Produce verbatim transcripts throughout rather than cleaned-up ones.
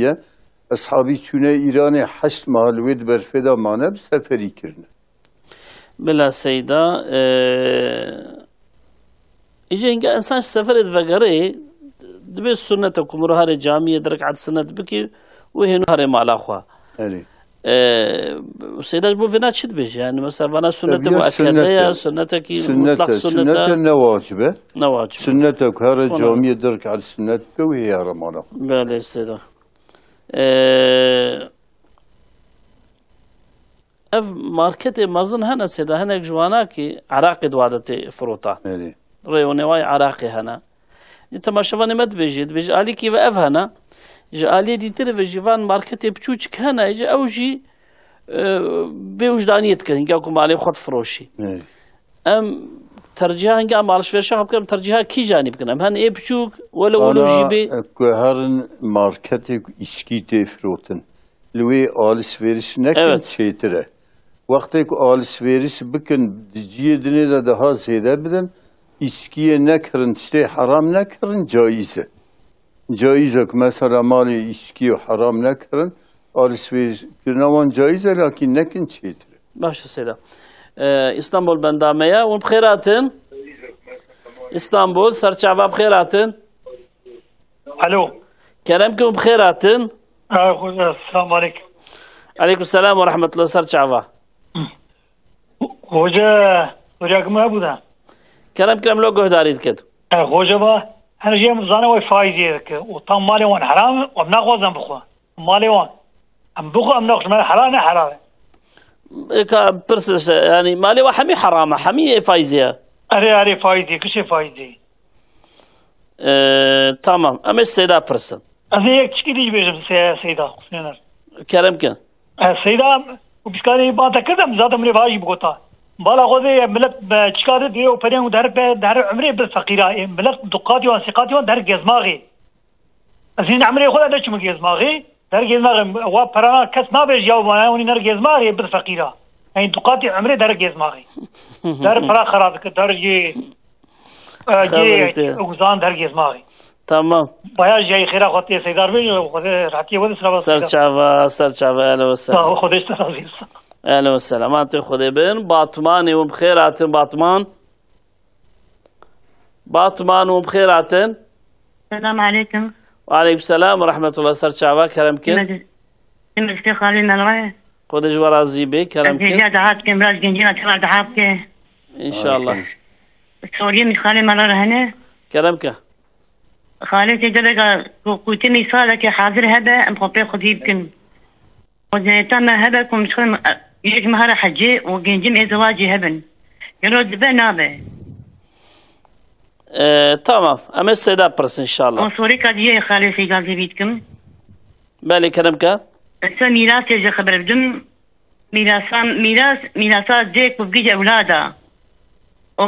ye. Eshabî çûne Îranê heşt mah li wê di berfê de mane, bi seferî kirine. Bila Seyda, e, îca hinga insan ji seferê divegerê, dibê sunnet e ku mirov herê camiyê di rekat sunnet bikî û hênû herê mala xwe. Erê. E, Seyda ji bo vêna çi dibêje? Yani mesela vana sunnet Tabii ya, muakkede ya, sunnet e. Sunnetekî Sunnet mutlak e, sunnet sunnet e. e, ne wacib e. Ne wacib e. Sunnet e ku here Sonra camiyê di rekat sunnet bike û hê here mala xwe. Belê Seyda. E, Ev marketê mezin hene Seyda, hinek ji wana ki eraqê di wa de tê firotan. Erê. Rê û newayê eraqê hene. Ji temaşevanê me dibêjê, dibêje alîkî ve ev hene. Ji aliyê dîtir ve jî van marketê piçûçik hene, ji ew jî, e, bê wijdaniyê dikin, hinga ku malê xwe difiroşî. Erê. Em tercîha hinga em alişverişa xwe bikin, em tercîha kîjanî bikin? Em hen ê piçûk, wele welo jî Ana, bê. e, ku herin marketê ku îçkî tê firotin. Li wê alişvêriş nekin Evet. çêtir e. Wextê ku alişvêriş bikin, di ciyê dinê de daha zêde bidin, îçkiyê nekirin, tiştê heram nekirin, caiz e. Caiz e ku mesela malê îçkiyê heram nekirin, alişvêriş kirina wan caiz e, lakîn nekin çêtir e. Baş e Seyda. Ee, İstanbul bendame ya. Hûn bi xêr hatin. İstanbul, Serçava bi xêr hatin. Alo. Kerem ki hûn bi xêr hatin. Selamun aleyküm. Aleyküm selam ve rahmetullah, ser çava. Hoca, hoca kim hebû da? Kerem ki em lo guhdarî dikin. E, hoca ba, her jê em zane wê faizê dike. Û tam malê wan heram e, em naxwazin bixwe. Malê wan. Em bixwe, em naxwazin, me helal ne heram e. Eka pirs işte, yani malê wan hemî heram e, hemî ê faizê ye. Erê, erê, faizê, kişê faizê. Ee, tamam. Em ê Seyda pirsin. Ez ê yek tişkî dî jî bêjim, Se-, Seyda, Husêner. Kerem kin. E, Seyda, û pîskanê ban te kirdim, zaten min ê vajî bigota. Bala xwe dê, millet, e, çika dê, dê û perên û der, der umrê bir feqîra. E, millet duqatî wan, sêqatî wan der gezmaxê. Ez hîn umrê xwe de neçûme gezmaxê. Der gezmaxê, wa perana kes nabêje ya, wana hûnî ner gezmaxê, bir feqîra. Yani duqatî umrê der gezmaxê. Der pera xera dike, der jê, e, Xeberê jê te. Uzan der gezmaxê. Tamam. Baya jê xêra xwe tê Seydar bê, Xwedê rehatiyê wede sira Ser Seydar. Çava, ser çava, ehlen ve Sağ ol, sehlen. Xwedê ji te razî olsun. Ehlen ve sehlen. Aman tê Xwedê bin. Batmanê hûn bi xêr hatin, Batman. Batman hûn bi xêr hatin. Selam aleyküm. Ve aleyküm selam ve rahmetullah. Ser çava, kerem kin. Siz xalê me re. Xwedê ji we razî bê, kerem kin. Ez hêja daha dikim, biraz gencîna te re daha bike. İnşallah. Soriyê min xalê me re hene. Kerem ke. Xalê tê geleka ku, ku tê mîsaleke hazir hebe, em xwe pê xwedî bikin. Xwezayeta me hebe ku em dixwin, e, yek mehara hecê û gencim ê zewacî hebin. Gelo dibe nabe? Ee, tamam. Em ê Seyda pirsin inşallah. Û sorêka diye xalê Seyda zêvî dikim. Belê, kerem ke. Ez te mîrasê ji xeber bidim. Mîrasa, mîras, mîrasa dê ku bigihîje ewlada. Û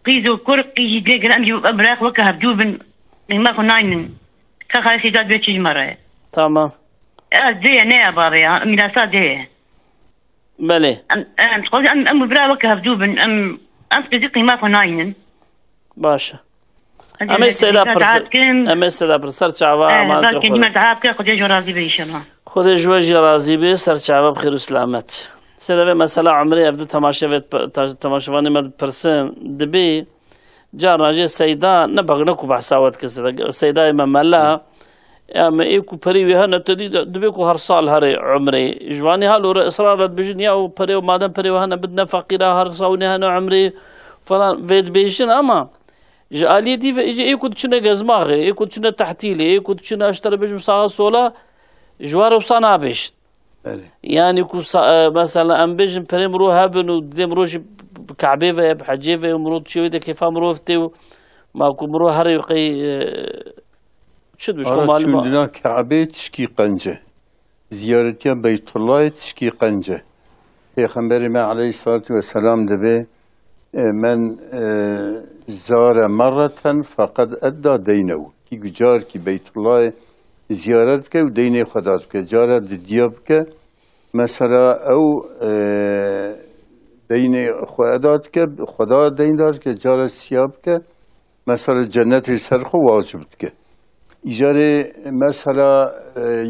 qîz û kur, qîz jî dê gere em jî ev birayek weke hevdû bin. Qîma xwe naynin. Ka xalê Seyda dibe çi ji me re? Tamam. Ez dê ye, ne ya bavê ya. Mîrasa dê ye. Belê. Em, em, em, em bira weke hevdû bin. Em, em qîzî qîma xwe naynin. Baş e. Em ê Seyda pirsin. Em ê Seyda pirsin. Ser çava, eh, aman belkî Xwedê. Cima daha bike, Xwedê ji razî be inşallah. Xwedê ji we jî razî be, ser çava bi xêr û selamet. Seyda vê mesela umrê ev di temaşe ve ta-, temaşevanê me dipirsin. Dibê Carna jê Seyda ne bexne ku behsa we dike Seyda. Seydayê me mela, ya me ê ku perê wê hene te dî de, dibê ku her sal herê umrê. Ji wanî halo re israr re dibêjin ya û perê û madem perê wê hene bidine feqîra, her sal wê hene umrê falan vê dibêjin ama ji aliyê dî ve jî ê ku diçine gezmaxê, ê ku diçine tehtîlê, ê ku diçine ji te re bêjim sağa sola, ji wan re wisa nabêjin. Belê. Yani ku sa-, e, mesela em bêjin perê mirov hebin û didê mirov jî bi Kabê ve, bi hecê ve û mirov diçê wê de kêfa mirov tê û ma ku mirov herê qey, e, çi dibêj, Ara malum çûndina Kabê tişkî qenc e. Ziyaretiya Beytullahê tişkî qenc e. Pêxemberê me aleyhissalatu vesselam dibê, e, "Men, e, zare merreten feqed edda deynehu." Kî ku carkî Beytullahê ziyaret bike û deynê xwe da bike. Cara didiya bike, mesela ew, e, deynê xwe eda dike, xwe da deyn da dike, cara siya bike, mesela cennetê ser xwe wacib dike. Îcarê mesela, e,